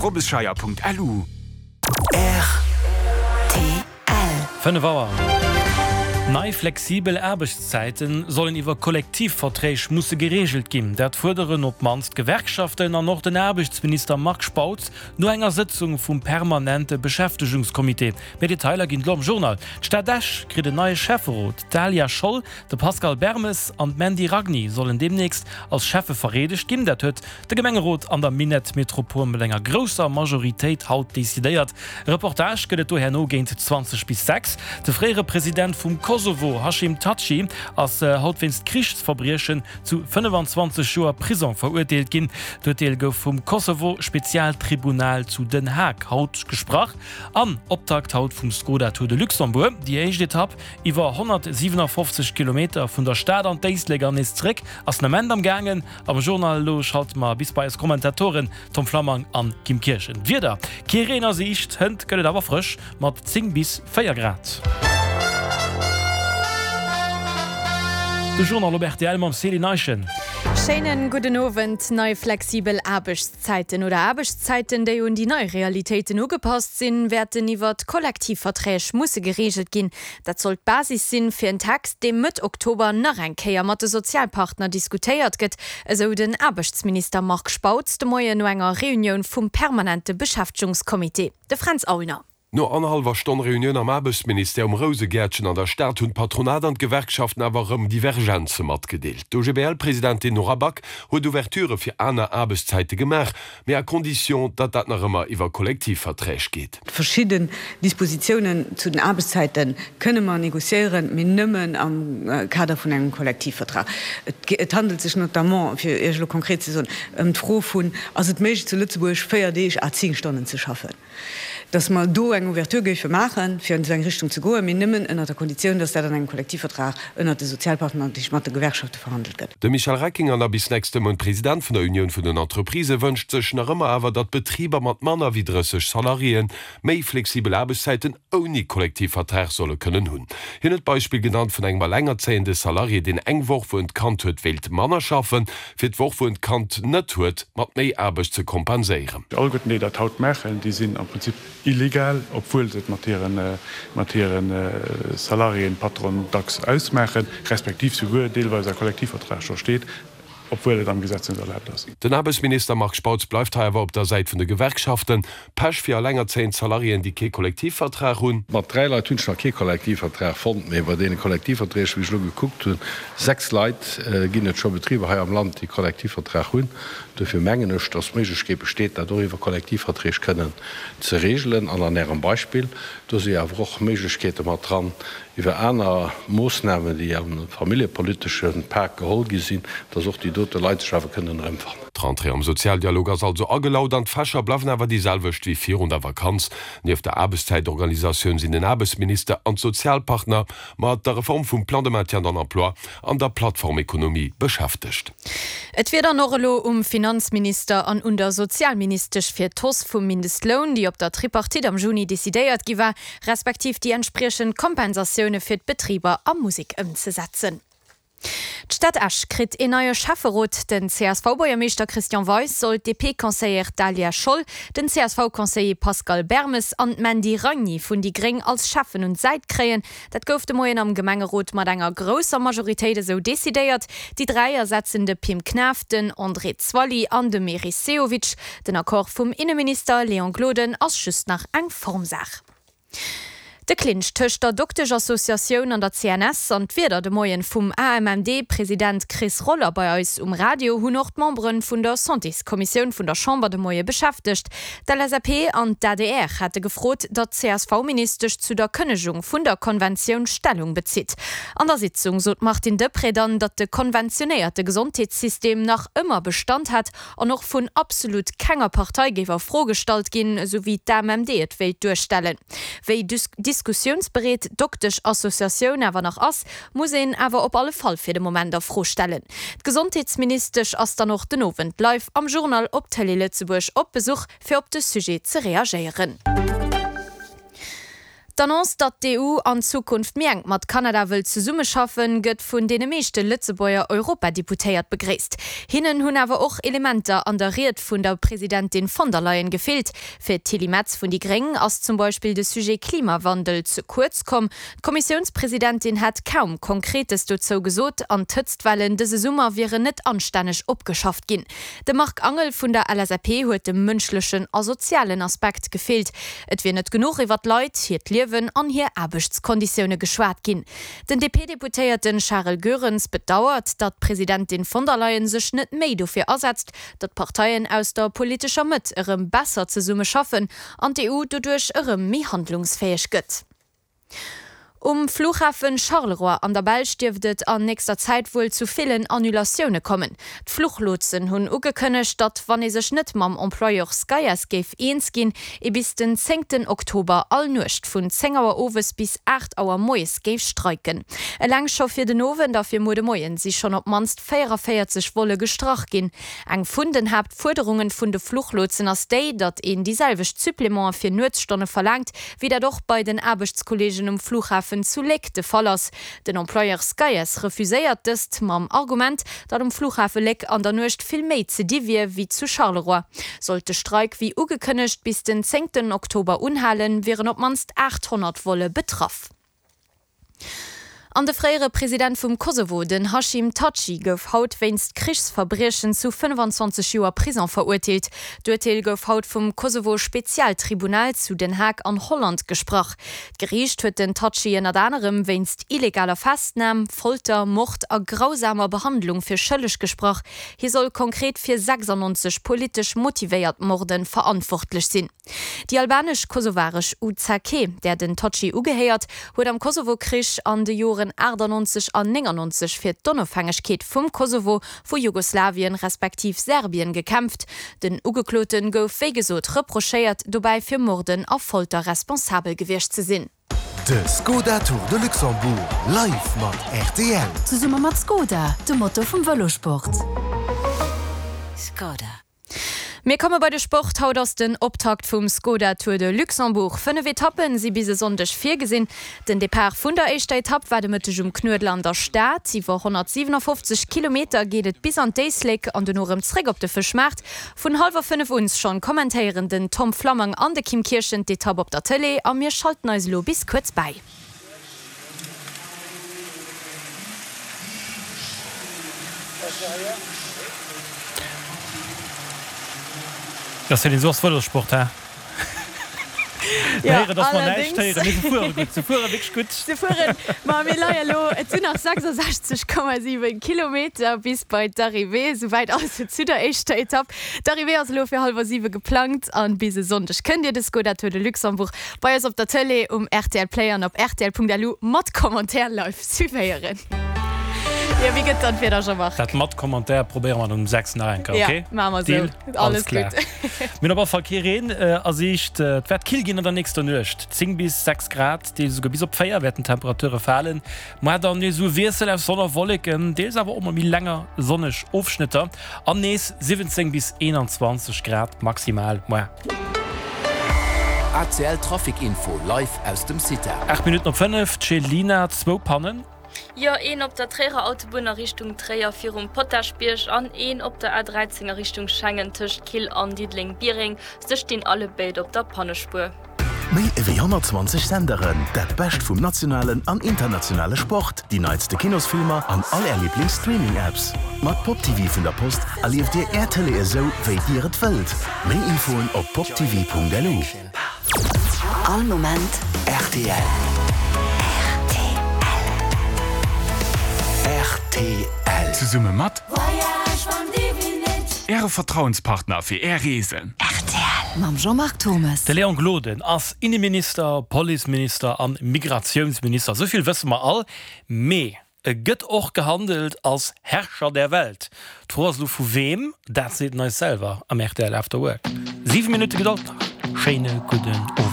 Robbesscheier.lu. Rtl. 5 Auer. Nei flexibel Aarbechtszäite sollen iwwer Kollektivverträg musse gereegelt ginn. Dat fuerderen op d'mannst d'Gewerkschaften an och den Aarbechtsminister Marc Spautz no enger Sëtzung vum permanente Beschäftegungscomité. Méi Detailer ginn et elo am Journal. D'Stad Esch kritt en neie Schäfferot. D'Dahlia Scholl, de Pascal Bermes an d'Mandy Ragni sollen deemnächst als Schäffe vereedegt ginn. Dat huet De Gemengerot an der Minettmetropol mat enger grousser Majoritéit haut decidéiert. E Reportage gëtt et do herno géint 20 bis 6. De fréiere President vum Kosovo Hashim Thaçi ass haut wéinst Krichsverbriechen zu 25 Joer Prisong verurteelt ginn. D'Urteel gouf vum Kosovo-Spezialtribunal zu Den Haag haut gesprach. An Optakt haut vum Skoda Tour de Luxembourg, déi éischt Etapp iwwer 157 Kilometer vun der Stad an d'Éislek an nees zréck ass den Ament am gaangen. Am Journal elo schalte mer bis bei eis Kommentatoren Tom Flammang an Kim Kirchen. D'Wieder, Kee Reen a Siicht, hënt gëtt et awer frësch mat 10 bis 4 Grad. De Journal op rtl mam Céline Eischen. Schéinen gudden Owend. Nei flexibel Aarbechtszäiten oder Aarbechtszäiten, déi un déi nei Realitéiten ugepasst sinn, wäerten iwwert Kollektivverträg musse gereegelt ginn. Dat soll d'Basis sinn, fir en Text, dee Mëtt Oktober nach eng Kéier mat de Sozialpartner diskutéiert gëtt, esou den Aarbechtsminister Marc Spautz de Moien no enger Reunioun vum permanente Beschäftegungscomité. De Fränz Aulner. No annerhallwer Stonn Reunioun am Aarbechtsministère um Rousegäertchen an der Stad hunn d'Patronat an d'Gewerkschaften awer erëm Divergenze matgedeelt. D'OGBL-Presidentin Nora Back huet Ouverturë fir aner Aarbechtszäite gemaach, mee à condition, datt dat nach ëmmer iwwer Kollektivverträg geet. Verschidden Dispositiounen zu den Aarbechtszäite kënne mer négociéieren, mee nëmmen am Kader vun engem Kollektivvertrag. Et handelt sech notamment, fir Iech elo konkret ze soen, ëm d'Fro vun, Ass et méiglech zu Lëtzebuerg 4 Deeg à 10 Stonnen ze schaffen? Dass mer do eng Ouverture géife maachen, fir an esou eng Richtung ze goen, mee nëmmen ënnert der Konditioun, dass dat an engem Kollektivvertrag ënnert de Sozialpartner, dat heescht mat de Gewerkschafte verhandelt gëtt. De Michel Reckinger, nach bis nächste Mount President vun der Unioun vun den Entreprisë, wënscht sech nach ëmmer awer, datt Betriber mat manner wéi 30 Salariéen méi flexibel Aarbechtszäiten ouni Kollektivvertrag solle kënnen hunn. Hien huet d'Beispill genannt vun engem allengerzéiende Salarié, deen eng Woch, wou en d'Kand huet, wéilt manner schaffen, fir d'Woch, wou en d'Kand net huet, mat méi Aarbecht ze kompenséieren. Alleguerten, déi dat haut maachen, déi sinn am Prinzip illegal, obwuel se et mat hire mat hire Salariéen, Patronen dacks ausmaachen, respektiv souguer deelweis a Kollektivvertrag scho steet, obwuel et am Gesetz net erlaabt ass. Den Aarbechtsminister Marc Spautz bleift hei awer op der Säit vun de Gewerkschaften. Pech fir allengerzéiend Salariéen, déi kee Kollektivvertrag hunn. Mat 3 Leit hunn ech nach kee Kollektivvertrag fonnt, mee bei deene Kollektivverträg, wéi ech elo gekuckt hunn, 6 Leit, ginn et scho Betriber hei am Land, déi Kollektivvertrag hunn. Dofir mengen ech, dass d'Méiglechkeet besteet, dat och iwwer Kollektivverträg kënnen ze regelen. An an Ärem Beispill, do si jo awer och Méiglechkeete mat dran, iwwer aner Moossnamen, déi am familljepolitesche Pak geholl gi sinn, dass och déi dote Leit sech awer kënnen erëmfannen. D'Rentrée am Sozialdialog ass also agelaut an d'Fächer bleiwen awer déi selwecht wéi virun der Vakanz. Nieft der Aarbechtszäitorganisatioun sinn den Aarbechtsminister an d'Sozialpartner mat der Reform vum Plan de maintien dans l'emploi an der Plattformekonomie beschäftegt. Et wier dann och elo um Finanzminister an un der Sozialministesch fir d'Hausse vum Mindestloun, déi op der Tripartite am Juni decidéiert gi war, respektiv déi entspriechend Kompensatioune fir d'Betriber a Musek ëmzesetzen. D'Stad Esch kritt een neie Schäfferot. Den CSV-Buergermeeschter Christian Weis soll d'DP-Conseillère Daliah Scholl, den CSV-Conseiller Pascal Bermes an d'Mandy Ragni vun déi Gréng als Schäffen un d'Säit kréien. Dat gouf de Moien am Gemengerot mat enger grousser Majoritéit esou decidéiert. Déi 3 ersetzen de Pim Knaff, den André Zwally an de Meris Sehovic. Den Accord vum Inneminister Léon Gloden ass just nach eng Formsaach. De Clinch tëscht der Dokteschassociatioun an der CNS an d'Wierder de Moien vum AMMD-President Chris Roller bei eis um Radio hunn och d'Membere vun der Santéskommissioun vun der Chamber de Moie beschäftegt. D'LSAP an d'ADR hate gefrot, datt d'CSV-Ministesch zu der Kënnegung vun der Konventioun Stellung bezitt. An der Sitzung sot d'Martine Deprez dann, datt de konventionéierte Gesondheetssystem nach ëmmer Bestand hätt an och vun absolut kenger Partei géif a Fro gestallt ginn, esou wéi d'AMMD et wéilt duerstellen. Wéi diskussiounsbereet d'Doktesch-Associatioun awer nach ass, muss een awer op alle Fall fir de Moment a Fro stellen. D'Gesondheetsministesch ass dann och den Owend live am Journal op Tëlee Lëtzebuerg op Besuch, fir op de Sujet ze reagéieren. D'Annonce, datt d'EU an Zukunft méi enk mat Kanada wëll zesummeschaffen, gëtt vun deene meeschte Lëtzebuerger Europadeputéiert begréisst. Hinnen hunn awer och Elementer an der Ried vun der Presidentin von der Leyen gefeelt. Fir d'Tilly Metz vun déi Gréng ass zum Beispill de Sujet Klimawandel ze kuerz komm. D'Kommissiounspresidentin hätt kaum Konkretes dozou gesot an d'Hëtztwellen dëse Summer wieren net anstänneg opgeschafft ginn. Dem Marc Angel vun der LSAP huet de mënschlechen a sozialen Aspekt gefeelt. Et wier net genuch iwwer d'Leit, hiert Liewen an hir Aarbechtskonditioune geschwat ginn. Den DP-Deputéierte Charel Goerens bedauert, datt d'Presidentin von der Leyen sech net méi dofir asetzt, datt d'Parteien aus der politescher Mëtt erëm besser zesumme schaffen an d'EU doduerch erëm méi handlungsfäeg gëtt. Um Flughafen Charleroi an der Belsch dierft et an nächster Zäit wuel zu villen Annulatioune kommen. D'Fluchlotsen hunn ugekënnegt, datt, wann ee sech net mam Employeur Skyass géif eens ginn, ee bis den zéngten Oktober all Nuecht vun 10 Auer owes bis 8 Auer moies géif streiken. Eleng scho fir den Owend a fir muer de Moien si schonn op d'mannst 44 Volle gestrach ginn. Eng vun den Haaptfuerderungen vun de Fluchlotsen ass déi, datt een déi selwecht Supplémente fir Nuetsstonne verlaangt, wéi dat och bei den Aarbechtskolleegen um Flughafen zu Léck de Fall ass. Den Employeur Skeyes refuséiert dëst mam Argument, datt um Flughafe Léck an der Nuecht vill méi ze di wier wéi zu Charleroi. Sollt de Streik wéi ugekënnegt bis den zéngten Oktober unhalen, wieren op d'mannst 800 Volle betraff. An de fréiere President vum Kosovo, den Hashim Thaçi, gouf haut wéinst Krichsverbriechen zu 25 Joer Prison verurteelt. D'Urteel gouf haut vum Kosovo-Spezialtribunal zu Den Haag an Holland gesprach. D'Geriicht huet den Thaçi ënnert anerem wéinst illegaler Festnam, Folter, Mord a grausamer Behandlung fir schëlleg gesprach. Hie soll konkret fir 96 politesch motivéiert Morde verantwortlech sinn. Déi albanesch-kosovaresch UCK, där den Thaçi ugehéiert, huet am Kosovo-Krich an de Joren 98 an 99 fir d'Onofhängegkeet vum Kosovo vu Jugoslawien respektiv Serbien gekämpft. Den Ugeklote gouf wéi gesot reprochéiert, dobäi fir Morden a Folter responsabel gewiescht ze sinn. De Skoda Tour de Luxembourg live mat rtl. Zesumme mat Skoda, dem Motor vum Vëlosport. Skoda. Mir komme bei de Sport. Haut ass den Optakt vum Skoda Tour de Luxembourg. 5 Etappen si bis e Sonndeg virgesinn. Den Depart vun der éischter Etapp war de Mëtteg um Knuedler an der Stad. Iwwer 157 Kilometer geet et bis an d'Éislek an dono erëm zréck op de Fëschmaart. Vun hallwer 5 un schonn kommentéieren den Tom Flammang an de Kim Kirchen d'Etapp op der Tëlee a mir schalten eis elo bis kuerz bäi. Jo Céline, sou ass Vëlossport, he? Mir héieren, dass mer näischt héieren, mee se fuere gutt, se fuere wierklech gutt. Se fueren, ma mir leie elo, et sinn nach 66,7 Kilometer bis bei d'Arrivée, souwäit also zu der éischter Etapp. D'Arrivée ass elo fir hallwer 7 geplangt an bis e Sonndeg kënnt Dir de Skoda Tour de Luxembourg Bei eis op der Tëlee, um rtl Play an op rtl.lu mat Commentaire live suivéieren. Jo, wéi gëtt dann d'Wieder, Jean-Marc? Dat mat Commentaire probéiere mer dann um 6 nach eng Kéier, ok? Ja, maache mer esou. Deal? Alles klar. Gutt. Mir hunn op alle Fall kee Reen a Siicht. Et wäert kill ginn an der nächster Nuecht, 10 bis 6 Grad, deels esouguer bis op 4 wäerten d'Temperature falen. Muar dann nees esou e Wiessel aus Sonn a Wolleken, deels awer och mol méi länger sonneg Ofschnëtter an nees 17 bis 21 Grad maximal muar. ACL Trafic Info live aus dem CITA. 8 Minutten op 5, D'Chelina, zwou Pannen. Jo, een op der Tréierer Autobunn a Richtung Tréier virum Potaschbierg an een op der A13 a Richtung Schengen tëscht Kill an Diddeleng-Biereng. Se stinn allebéid op der Pannespuer. Méi ewéi 120 Senderen, dat Bescht vum nationalen an internationale Sport, déi neitste Kinosfilmer an all Är Liiblings-Streaming-Apps. Mat Pop TV vun der Post erlieft Dir Är Tëlee esou, wéi Dir et wëllt. Méi Infoen op poptv.lu. All Moment rtl. Rtl. Zesumme mat Äre Vertrauenspartner fir Är Reesen. Rtl mam Jean-Marc Thommes. De Léon Gloden ass Inneminister, Policeminister an Migratiounsminister, esou vill wësse mer all. Mee e gëtt och gehandelt als Herrscher der Welt. D'Fro ass elo vu weem? Dat seet en eis selwer am rtl After Work. 7 Minutte Gedold nach. Schéine gudden Owend.